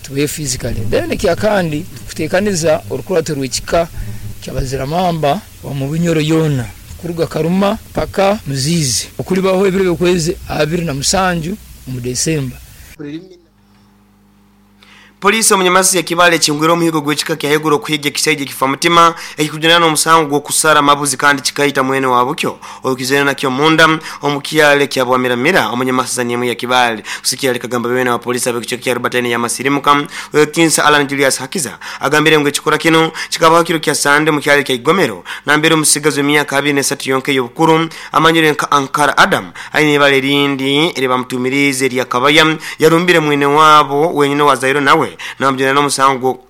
Tubayo physically. Then ekyakandi kutekaniza orukurato rw'ekika ky'abaziramamba omu Bunyoro yoona kuruga Karuma paka Muziizi okulibaho ebiro by'okwezi 27 omu Desemba. Poliisi omu Nyamasi ya Kibaale ekingwire omuhigo gw'ekika kya haiguru okuhiga ekisaija ekifamutima ekikujunanwa omusango gw'okusara amabuzi kandi kikaita mwene wabukyo okizoire nakyo munda omu kyalo ekya Bwamiramira omu Nyamasi zani emu ya Kibaale. Kusikiira likagamba beene wa poliisi ab'ekicweka kya Rubatayini ya Masirimuka Ow'ekitinisa Allan Julius Hakiza agambire ngu ekikora kinu kikabaho kiro kya Sande omu kyalo ekya Igomero nambere omusigazi w'emyaka 23 yonka ey'obukuru amanyirwe nka Ankara Adam Aine ibara erindi eri bamutuumiriize erya Kabaya, yarumbire mwine waabo wenyine owazairwe nawe nabamujunaana omusango gwo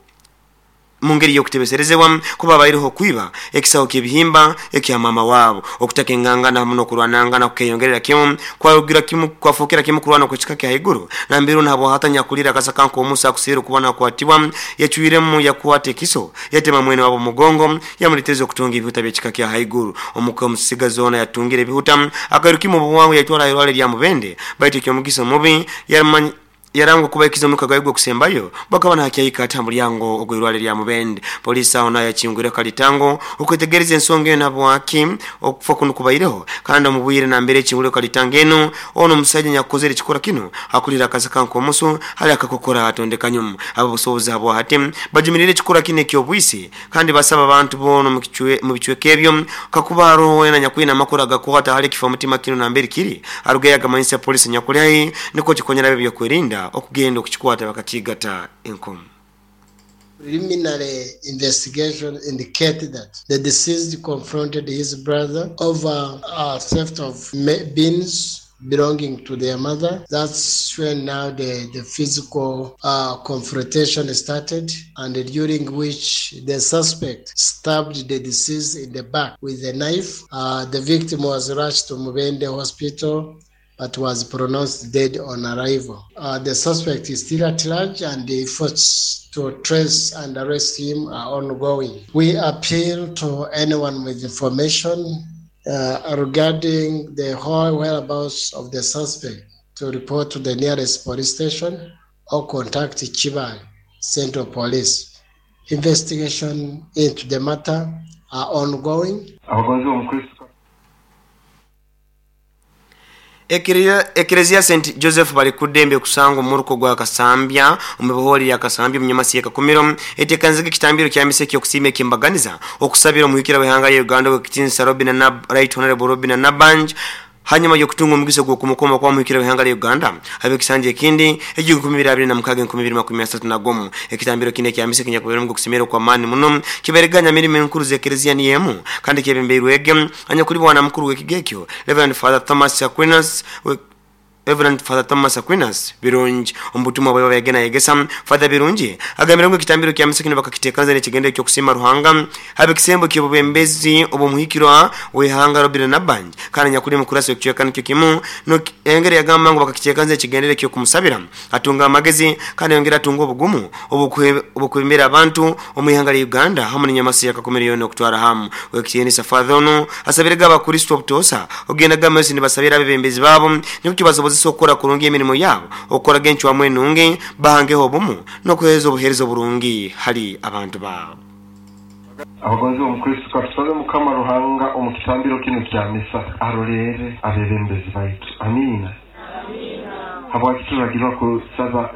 mungeri y'okutebeserezebwa kuba abaireho okwiba ekisaho ky'ebihimba ekya maama waabo. Okutaka engangana hamu n'okurwanangana kukeyongerera kimu kwarugira kimu kwafookera kimu kurwana okw'ekika kya haiguru nambere onu habwahati anyakuliire akasaka nk'omusa akuseera okuba nakwatibwa yacwiremu yakwata ekiso yatema mwene waabo omugongo Yamuletereza okutunga ebihuta by'ekika kya haiguru. Omuka omusigazi ono yatungire ebihuta, akairukimu omu bwangu yaitwara ha irwale lya Mubende. Baitu eky'omugisa omubi, yarangwa kuba aikize omuka gwaye ogw'okusembayo bwakaba nakyahika ati ha mulyango ogw'irwale lya Mubende. Poliisi aho naho yakingwireho kalitango okwetegereza ensonga enu habwaki okufa kunu kubaireho kandi omu bwire nambere ekingwireho kalitango enu, ono omusaija anyakukozere ekikorwa kinu akulire akasaka nk'omusu hali akakokora atondeka nyumu. Ab'obusobozi habwahati bajumiriire ekikorwa kinu eky'obwisi Kandi basaba abantu boona omu bicweka ebyo, kakuba haroho weena anyakwine amakuru agakwata hali ekifamutima kinu nambere kiri, arugeyo agamanyise poliisi enyakuli haihi nukwo kikonyere ab'ebyokwerinda okugenda okukikwata bakakiigata enkomo. Preliminary investigation indicate that the deceased confronted his brother over theft of beans belonging to their mother. That's when now the, the physical confrontation started and during which the suspect stabbed the deceased in the back with a knife. The victim was rushed to Mubende Hospital but was pronounced dead on arrival. The suspect is still at large and the efforts to trace and arrest him are ongoing. We appeal to anyone with information regarding the whole whereabouts of the suspect to report to the nearest police station or contact Kibaale Central Police. Investigation into the matter are ongoing. Abagonzibwa omu Kristo. Eklezia Saint Joseph Balikuddembe ekusangwa omu muruka ogwa Kasambya omu ibohoori lya Kasambya omu Nyamasi y'e Kakumiro eteekanizaga ekitambiro kya misa eky'okusiima eky'embaganiza okusabira omuhikira w'eihanga lya Uganda Ow'ekitiinisa Robinah Nab Right Honourable Robinah Nabanj hanyuma y'okutunga omugisa ogw'okumukoma kuba omuhikira w'eihanga lya Uganda habw'ekisanja ekindi eky'enkumi ibiri abiri na mukaaga enkumi ibiri makumi asatu na gumu. Ekitambiro kinu ekya misa ekinyakubairemu ogw'okusemererwa okw'amaani muno kibairega nyamirimo enkuru z'eklezia niyo emu kandi kyebembeirwege Anyakuli bwana mukuru w'ekigo ekyo, Rev. Father Thomas Aquinas, Rev. Father Thomas Aquinas Birungi. Omu butumwa bwe bwayegere nayegesa, Father Birungi agambire ngu ekitambiro kya misa kinu bakakitekanza n'ekigendererwa eky'okusiima Ruhanga habw'ekisembo ky'obwebembezi obw'omuhikirwa w'eihanga Robinah Nabbanja kandi anyakuli omukurasi w'ekicweka nikyo kimu yayongera yagamba ngu bakakitekanza n'ekigendererwa eky'okumusabira atunge amagezi kandi ayongere atunge obugumu obw'okwebembera abantu omu ihanga lya Uganda hamu n'enyamasi ya Kakumiro yoona okutwara hamu. Ow'ekitiinisa Father onu asabirege Abakristo obutoosa okugendaga mumaiso nibasabira abebembezi baabo nikwo kibasobozesa okukora kurungi emirimo yaabo, okukoraga encwamu enungi, bahangeho obumu, n'okuheereza obuheereza oburungi hali abantu baabo. Abagonzibwa omu Kristo, katusabe Mukama Ruhanga omu kitambiro kinu kya misa arolerre abebembezi baitu. Amiina. Habwaki turagirwa kusaba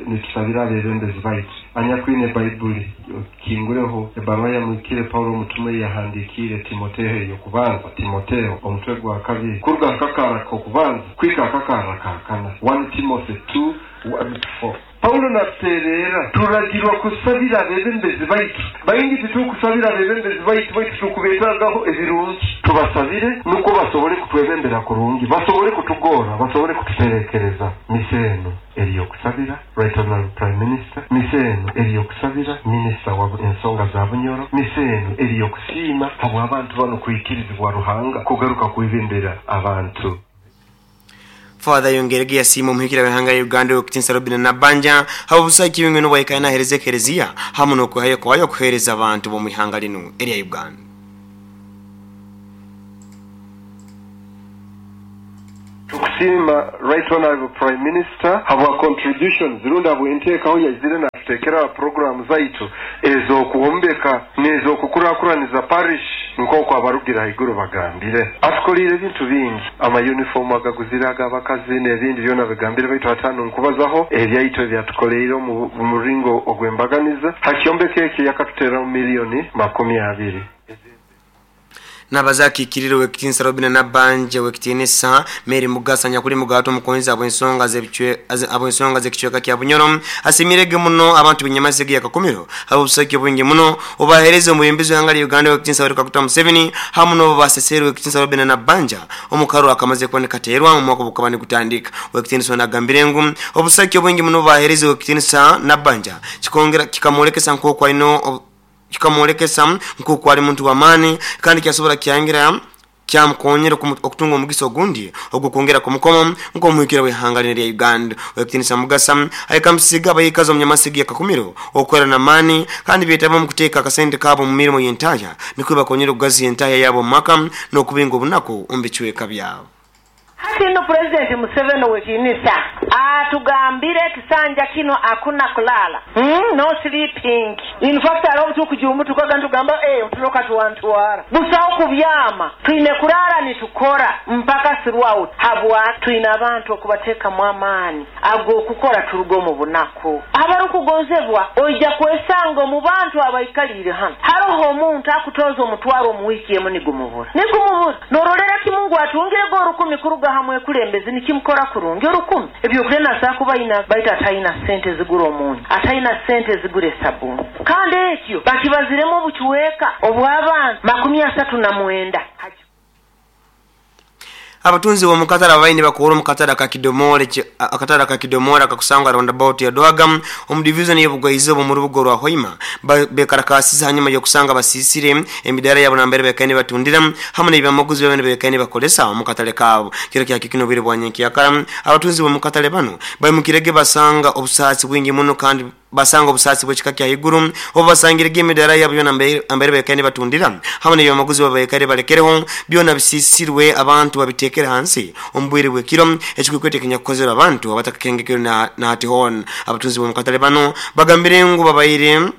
nitusabira abebembezi baitu? Anyakwine Baibuli, okinguleho ebbaruha ya Muhikire Paulo omutume ei yahandiikiire Timoteo ey'okubanza, Timoteo, omutwe gwa kabiri, kuruga ha kakarra k'okubanza kuhika ha kakarra ka kana, 1 Timothy 2, 1-4. Paulo natutererra, turagirwa kusabira abebembezi baitu. Baingi titurukusabira abebembezi baitu, baitu turukubetagaho ebirungi. Tubasabire nukwo basobole kutwebembera kurungi, basobole kutugorra, basobole kututerekereza. Misa enu eri y'okusabira Right Honourable Prime Minister, misa enu eri y'okusabira Minisita wa ensonga za Bunyoro, misa enu eri y'okusiima habw'abantu banu kwikirizibwa Ruhanga kugaruka kwebembera abantu. Father ayongeirege yasiima omuhikira w'eihanga lya Uganda Ow'ekitiinisa Robinah Nabbanja habw'obusagiki bwingi obu aikaire naheereza Ekereziya hamu n'okwehayo kwayo okuheereza abantu b'omu ihanga linu erya Uganda. Tukusiima Right Honourable Prime Minister habwa contributions rundi habw'enteekaho yaizire na. Natutekera programu zaitu ez'okwombeka n'ez'okukurakuraniza parish nk'oku abarugira haiguru bagambire. Atukolire ebintu bingi, amayunifomu agaguzire ag'abakazi n'ebindi byona bigambire, baitu hatano nkubazaho ebyaitu ebyatukoleire omu muringo ogw'embaganiza. Ha kyombeko ekyo yakatuteramu 20 miliyoni. Nabaza akikirire wekitinisa Robina Nabanja, wekitinisa Mary Mugasa nyakuli mugato omukonzi abwensonga z'ekicweka kya Bunyoro asimirege muno abantu b'Enyamasege ya Kakumiro habw'obusaki obwingi muno obahereza omwebembezi w'ihanga lya Uganda, wekitinisa Yoweri Kaguta Museveni, hamu n'obu basesere wekitinisa Robina Nabanja omukaru akamaze kuba nikateerwa mu mwaka ogukaba nigutandika. Wekitinisa ono agambire ngu obusaki obwingi muno obubahereza wekitinisa Nabanja kikongera kikamwolekesa nk'oku alina, kikamwolekesa nk'oku ali muntu w'amaani, kandi kyasobora kyangira kyamukonyera okutunga omugisa ogundi ogw'okwongera kumukoma nk'omuhikira w'ihanga lino lya Uganda. Wekitinisa Mugasa ayekamusiga abayikazi omu Nyamasigi ya Kakumiro okukorera n'amaani kandi beetaba omu kuteeka akasente kaabo omu mirimo y'entahya nikwo bakonyera okugaziya entahya yaabo omu maka n'okubinga obunaku omu bicweka byabo. Hati nno Pulezidenti Museveni ow'ekitinisa atugambire ekisanja kino akuna kulala, No sleeping. In fact hariho obutukujumu tukaga nitugamba otulo katwantwara. Busaho kubyama, twine kurara nitukora mpaka throughout. Habwa twine abantu okubatekamu amaani ag'okukora turuga omu bunaku. Abarukugonzebwa, oija kwesanga omu bantu abaikalire hanu haroho omuntu akutoza 1000 omu wiiki emu nigumubura. Nigumubura. Norolera kimu ngu atungirege 1000 kuruga hamwe ekulembezi nikimukora kurungi 1000. Ebyokulya nasobola kuba aina baitu ataina sente zigura omunyu, ataina sente zigura esabuni. Kandi ekyo bakibaziremu obucweka obw'abantu 39. Abatunzi b'omukatale ababaine bakuhura omukatale akakidomole, akatale akakidomole akakusangwa roundabout ya Dwaga omu division y'obugwaizoba omu rubuga orwa Hoima bekarakasize hanyuma y'okusanga basisire emidaara yabo nambere bekaine batundira hamu n'ebyamaguzi byabo bekaine bakolesa omu katale kaabo. Kiro kya kikino obwire bwa nyenkyakara abatunzi b'omukatale bano baimukirege basanga obusaasi bwingi muno, kandi basanga obusaasi bw'ekika kya haiguru obu basangirege emidaara yabo byona ambere bekaine batundira hamu n'ebyamaguzi babo bekaire balekereho byona bisisirwe, abantu babitekere hansi omu bwire bw'ekiro, ekikwekwete ekinyakukozerwe abantu abatakakengekerwe na hati hoona. Abatunzi b'omukatale bano bagambire ngu babaire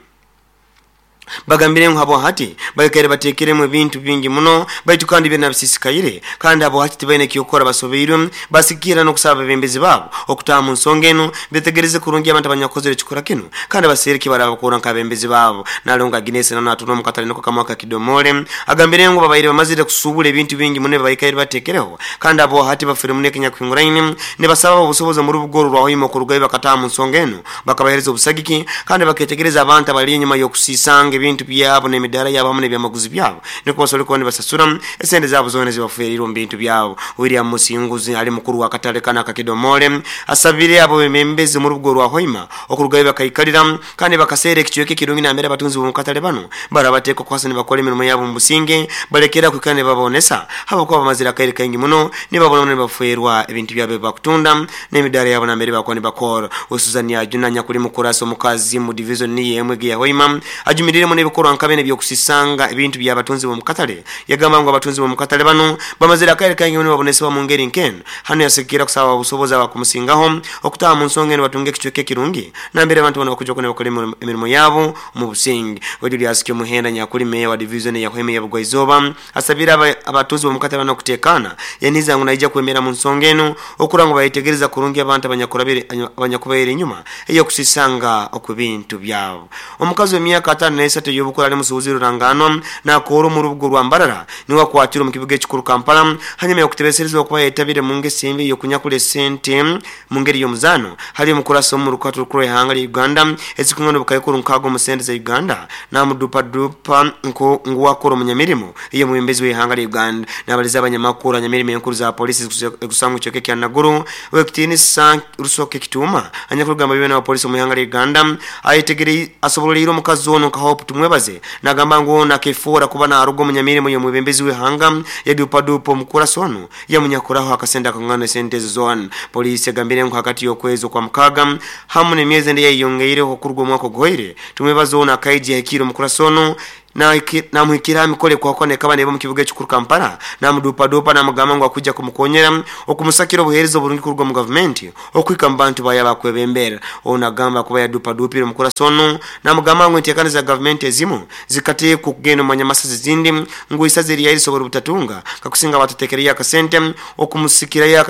bagambire ngu habwa hati baikaire bateekeremu ebintu bingi muno baitu kandi byona bisisikaire, kandi abo hati tibaine kyokukora, basobeirwe. Basikira n'okusaba abebembezi baabo okutaaha mu nsonga enu betegereze kurungi abantu abanyakukozere ekikora kinu kandi baseere kibarabakura nk'abembezi baabo. Nalongo Agnes nano atunda omu katale niko kamwe akakidomole agambire ngu babaire bamazire kusuubura ebintu bingi muno ebibaikaire bateekereho, kandi abo hati bafire muno ekinyakuhinguraine. Nibasaba obusobozi omu rubuga oru rwa Hoima okurugayo bakataaha mu nsonga enu bakabahereza obusagiki kandi baketegereza abantu abali enyuma y'okusisanga ebintu byabo n'emidaara yabo hamu n'ebyamaguzi byabo nikwo basobole kuba nibasasura esente zaabo zoona ezibaferirwe omu bintu byabo. William Musinguzi ali mukuru w'akatale kano akakidomole asabire abo bemembezi omu rubuga orwa Hoima okurugayo bakaikalira kandi bakaseera ekicweka ekirungi nambere abatunzi b'omu katale bano barabateeka okuhasa nibakora emirimo yabo omu businge, balekera kwikara nibabonesa habwokuba bamazire akaire kaingi muno nibabona nibaferwa ebintu byabo ebibakutunda n'emidaara yabo nambere bakuba nibakora. Susan Ajuna nyakuli mukurasi omukazi mu division niyo emwe ya Hoima ajumiriremu n'ebikorwa nka bene ebyokusisanga ebintu by'abatunzi b'omu katale. Yagamba ngu abatunzi b'omu katale bano bamazire akaire kaingi muno nibabonesebwa mu ngeri nk'eno. Hanu yasikira kusaba obusobozi abakumusingaho okutaaha mu nsonga eno batunge ekicweka ekirungi nambere abantu bano bakuja kuba nibakora emirimo yabo omu businge. We Julius Kyomuhenda nyakuli meya wa division ya Hoima ya Bugwaizooba asabire abatuuzi b'omu katale bano okuteekaana, yaniza ngu naija kwemera mu nsonga eno okura ngu bayetegereza kurungi abantu abanyakubaire enyuma ey'okusisanga okw'ebintu byabo. Omukazi w'emyaka 53 ey'obukuru ali musuubuzi ruranganwa nakoora omu rubuga orwa Mbarara niwe akwatirwe omu kibuga ekikuru Kampala hanyuma y'okutebeserezibwa okuba yetabire mu ngeso embi ey'okunyakula esente mu ngeri y'omuzaano hali omukurasi omu rukato rukuru rw'ihanga lya Uganda ezikwingana obukaikuru 6 omu sente za Uganda, namudupadupa ngu wakora omunyamirimo ey'omwebembezi w'ihanga lya Uganda. Nabaliza abanyamakuru hanyamirimo enkuru za polisi ezikusangwa ekicweka ekya Naguru, owekitiinisa Rusoke Kituuma anyakurugamba byona wa polisi omu ihanga lya Uganda ayetegere asoboleire omukazi ono nka Hope Tumwebaze, nagamba ngu ono akefoora kuba naruga omunyamirimo y'omwebembezi w'ihanga, yadupadupa omukurasi ono yamunyakuraho akasente akangana esente ezo zoona. Polisi egambire ngu hagati y'okwezi okwa mukaaga hamu n'emyezi endi eyayeyongeireho okuruga omwaka oguhoire, Tumwebaze ono akaija yahikire omukurasi ono. Namuhikira mikole kwakwa nekaba neba mu kibuga ekikuru Kampala, namudupadupa namugamba ngu akujja kumukonyera okumusakira obuheereza oburungi kuruga mu gavumenti okuhika mu bantu baya bakwebembera. Ono agamba kuba yadupadupire omukurasi ono namugamba ngu enteekaniza za gavumenti ezimu zikateekwa okugenda omu manyamasazi ezindi ngu isaza eryayi lisobora obutatunga kakusinga batatekereyo akasente okumusikirayo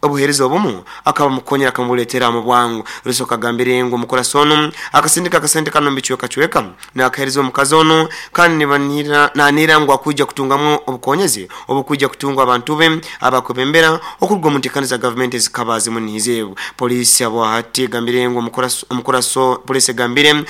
obuheereza obumu akaba mukonyera akamubuleetera mu bwangu. Rusoka agambire ngu omukurasi onu akasindika akasente kano mubicwekacweka nakaheereza omukazi onu kandi nanira ngu akwija kutungamu obukonyezi obukwija kutungwa abantu be abakwebembera okuruga omu nteekaniza za gavumenti ezikaba zimunihize. Poliisi abwahati egambire ngu omukuraso poliisi egambire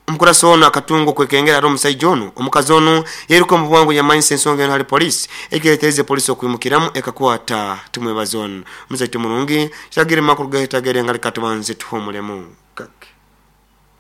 omukuraso ono akatunga okwekengera ari omusaija onu omukazi onu yairuka omu bwangu yamanyisa ensonga eno hali poliisi ekireetereze poliisi okwimukiramu ekakwata Tumwebaze ono. Muzaito murungi kiragire makuru gahetagere ngaleka tubanze tuhumulemu kake.